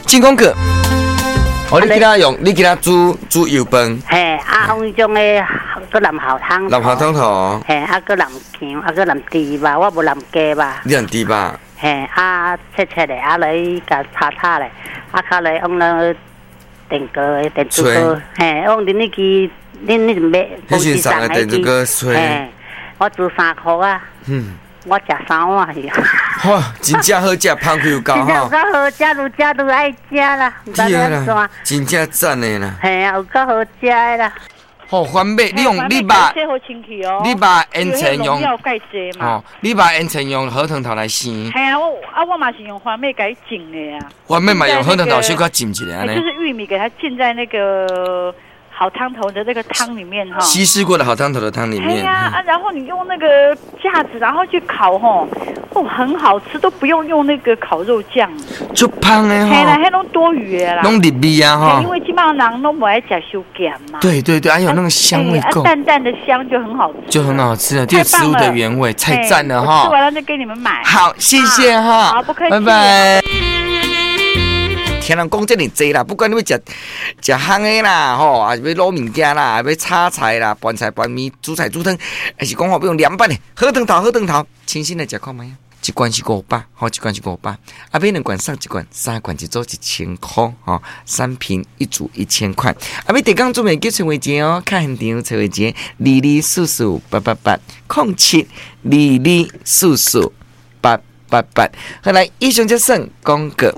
進廣告。哦，你今仔用，你今仔煮煮油飯。嘿，啊，用彼種的，閣淋蠔湯。淋蠔湯頭。嘿，啊，閣淋薑，啊，閣淋豬肉，我無淋雞肉。你淋豬肉？嘿，啊，切切咧，啊，來共炒炒咧，啊，較來用那個電鍋的電煮鍋，嘿，用恁彼支，恁彼買。彼時送的電煮鍋炊。嘿，我煮3箍啊。我食三碗去。哇，真正好食，芳氣有夠吼。真正有夠好食，愈食愈愛食啦，毋知欲按怎。真正讚的啦。嘿啊，有夠好食的啦。好，番麥，你用你把，你把煙腸用，哦，你把煙腸用好湯頭來生。嘿啊，我啊我嘛是用番麥共伊浸的啊。番麥嘛用好湯頭小可浸一下呢。就是玉米給它浸在那個好湯頭的那個湯裡面哈。稀釋過的好湯頭的湯裡面。對呀啊，然後你用那個架子，然後去烤吼，哦，很好吃，都不用用那個烤肉醬。足芳的吼。嘿啦，彼攏多餘的啦。攏入味啊吼。因為這擺人攏無愛食傷鹹嘛。對對對，還有那個香味夠。淡淡的香就很好吃。就很好吃了，這個食物的原味，太讚了哈。吃完了就給你們買。好，謝謝哈。好，不客氣。拜拜。聽人講遮爾濟啦，不管你欲食食烘的啦，吼，抑是欲滷物件啦，欲炒菜啦，拌菜拌麵，煮菜煮湯，抑是講吼欲用涼拌的，好湯頭好湯頭，清新來食看覓啊！一罐是500，吼，一罐是五百，啊，買兩罐送一罐，三罐一組1000箍，吼，三瓶一組1000塊。啊，欲訂購準備叫崔慧姐哦，較現場崔慧姐224488807-2244888。好來，以上才算廣告。